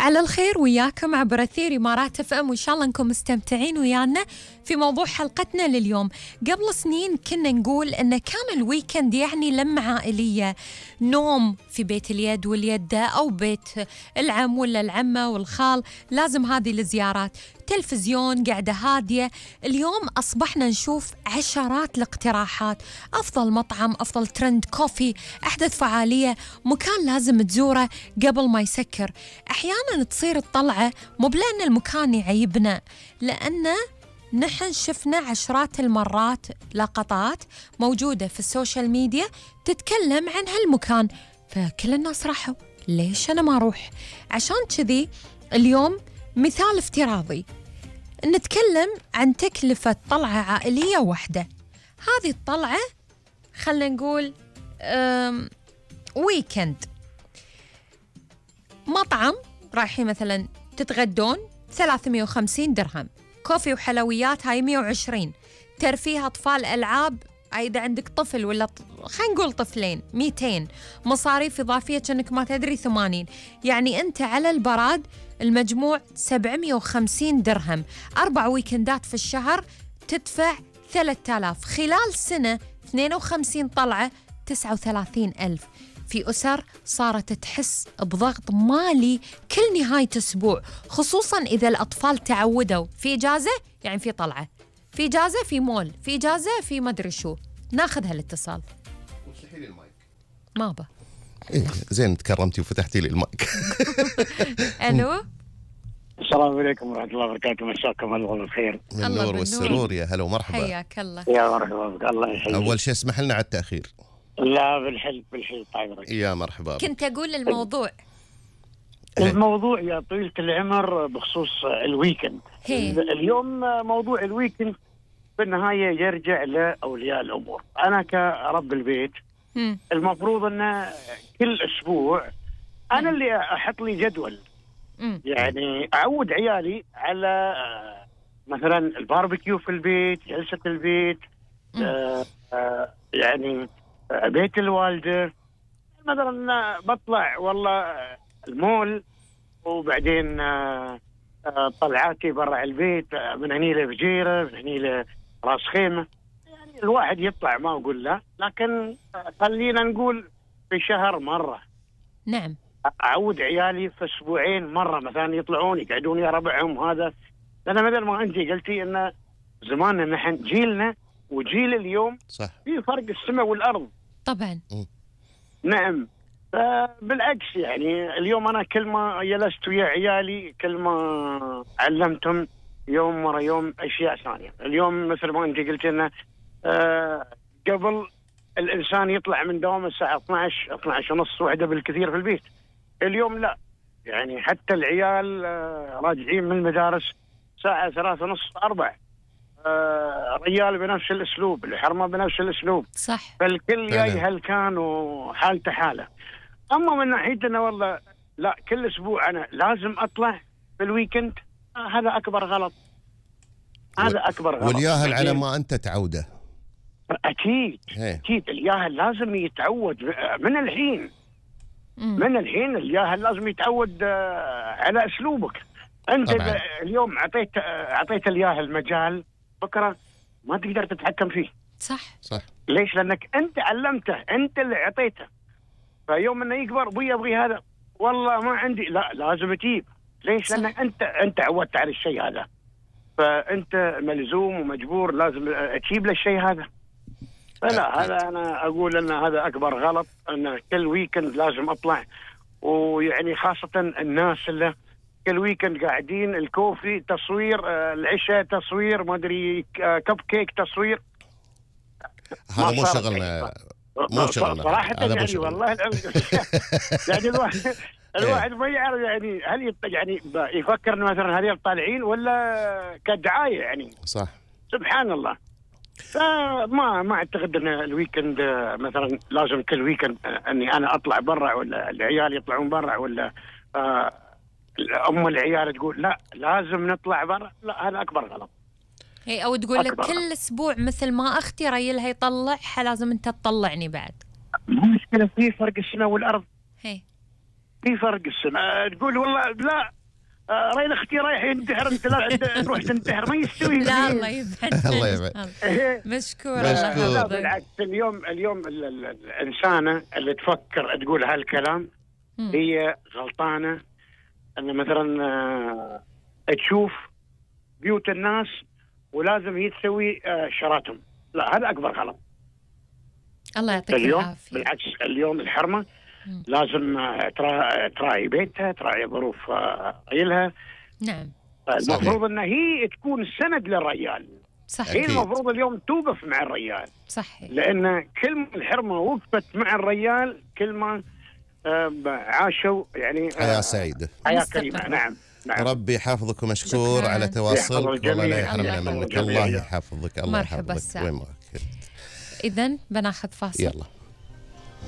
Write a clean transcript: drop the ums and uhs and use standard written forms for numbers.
على الخير وياكم عبر أثير إمارات اف ام، وإن شاء الله أنكم مستمتعين ويانا في موضوع حلقتنا لليوم. قبل سنين كنا نقول إن كان الويكند يعني لمة عائلية، نوم في بيت اليد واليدة أو بيت العم ولا العمة والخال، لازم هذه الزيارات، تلفزيون، قاعدة هادية. اليوم أصبحنا نشوف عشرات الاقتراحات، أفضل مطعم، أفضل ترند كوفي، أحدث فعالية، مكان لازم تزوره قبل ما يسكر. أحيانا تصير الطلعة مو بلأن المكان يعيبنا، لأن نحن شفنا عشرات المرات لقطات موجودة في السوشيال ميديا تتكلم عن هالمكان، فكل الناس راحوا، ليش أنا ما أروح؟ عشان كذي اليوم مثال افتراضي نتكلم عن تكلفة طلعة عائلية واحدة. هذه الطلعة خلنا نقول ويكند، مطعم رايحين مثلا تتغدون 350 درهم، كوفي وحلويات هاي 120، ترفيه أطفال ألعاب إذا عندك طفل ولا خلينا نقول طفلين 200، مصاريف إضافية كأنك ما تدري 80، يعني أنت على البراد المجموع 750 درهم. 4 ويكندات في الشهر تدفع 3000، خلال سنة 52 طلعة 39,000. في أسر صارت تحس بضغط مالي كل نهاية أسبوع، خصوصاً إذا الأطفال تعودوا في إجازة يعني في طلعة، في إجازة في مول، في إجازة في مدري شو. ناخذ هالاتصال. وفتحي لي المايك. ما با إيه زين تكرمتي وفتحتي لي المايك. ألو، السلام عليكم ورحمة الله وبركاته، مساكم الله بالخير. من النور والسرور، يا هلا ومرحبا. حياك الله. يا مرحبا بك، الله يحييك. أول شيء اسمح لنا على التأخير. لا بالحل طيب. يا مرحبا. كنت أقول الموضوع الموضوع يا طويلة العمر بخصوص الويكند. اليوم موضوع الويكند بالنهاية يرجع لأولياء الأمور. أنا كرب البيت المفروض أن كل أسبوع أنا اللي أحط لي جدول، يعني أعود عيالي على مثلا الباربيكيو في البيت، جلسة البيت، يعني بيت الوالدة. مثلا بطلع والله المول، وبعدين طلعاتي برا البيت، من هني لفجيرة، من هني لراس خيمة. يعني الواحد يطلع ما أقول لا، لكن خلينا نقول في شهر مرة. نعم. أعود عيالي في أسبوعين مرة مثلا يطلعون يقعدون يا ربعهم. هذا لأن مثل ما أنت قلتي إن زماننا نحن جيلنا وجيل اليوم صح، في فرق السماء والأرض طبعا. نعم. بالعكس يعني اليوم أنا كل ما جلست ويا عيالي كل ما علمتهم يوم ورا يوم أشياء ثانية. اليوم مثل ما أنت قلت إنه قبل الإنسان يطلع من دوام الساعة 12 ونص واحدة بالكثير في البيت. اليوم لا، يعني حتى العيال راجعين من المدارس ساعة 3 ونص 4. الرجال بنفس الأسلوب، الحرمة بنفس الأسلوب. صح. فالكل جاي هلكان وحالته حالة. أما من ناحيتنا والله لا، كل أسبوع أنا لازم أطلع في الويكند، هذا أكبر غلط. هذا أكبر غلط. والياهل على ما أنت تعوده. أكيد أكيد الياهل لازم يتعود من الحين. من الحين الياهل لازم يتعود على أسلوبك. أنت اليوم أعطيت الياهل مجال، بكرة ما تقدر تتحكم فيه. صح. ليش؟ لأنك أنت علمته، أنت اللي أعطيته. فيوم إنه يكبر أبوي أبغي هذا، والله ما عندي، لا لازم تجيب. ليش؟ لأنك أنت عودت على الشيء هذا، فأنت ملزوم ومجبور لازم تجيب له الشيء هذا. فلا، هذا أنا أقول أن هذا أكبر غلط، أن كل ويكند لازم أطلع. ويعني خاصة الناس اللي كل ويكند قاعدين الكوفي تصوير، العشاء تصوير، ما أدري كب كيك تصوير. هذا مو شغلنا، مو شغلنا صراحة يعني والله يعني الواحد ما يعرف يعني هل يعني يفكر إنه مثلا هذول طالعين ولا كدعاية يعني. صح. سبحان الله. فما أعتقد أن الويكند مثلا لازم كل ويكند أني أنا أطلع برا، ولا العيال يطلعون برا، ولا أم العيال تقول لا لازم نطلع برا. لا، هذا أكبر غلط. هي أو تقول لك كل أسبوع مثل ما أختي ريلها يطلعها لازم أنت تطلعني بعد. مشكلة في فرق السماء والأرض. هي في فرق السنة. تقول والله لا رين اختي رايح ينتحر، انت لا تروح تنتحر، ما يستوي. لا الله يبعد. الله يبعد. مشكور. لا بالعكس، اليوم الإنسانة اللي تفكر تقول هالكلام هي غلطانة. أن مثلا تشوف بيوت الناس ولازم هي تسوي شراتهم، لا هذا أكبر غلط. الله يعطيك اليوم العافية. بالعكس، اليوم الحرمة لازم تراعي بيتها، تراعي ظروف عيلها. نعم. المفروض أن هي تكون سند للرجال. صحيح. هي المفروض اليوم توقف مع الرجال. صحيح. لأن كل ما الحرمة وقفت مع الرجال كل ما عاشوا يعني حياة سعيدة، حياة كريمة. نعم. ربي يحفظك ومشكور على تواصلك، والله لا يحرمنا منك. الله يحفظك. الله مرحبا يحفظك. وين ما كنت. إذن بناخذ فاصل. يلا.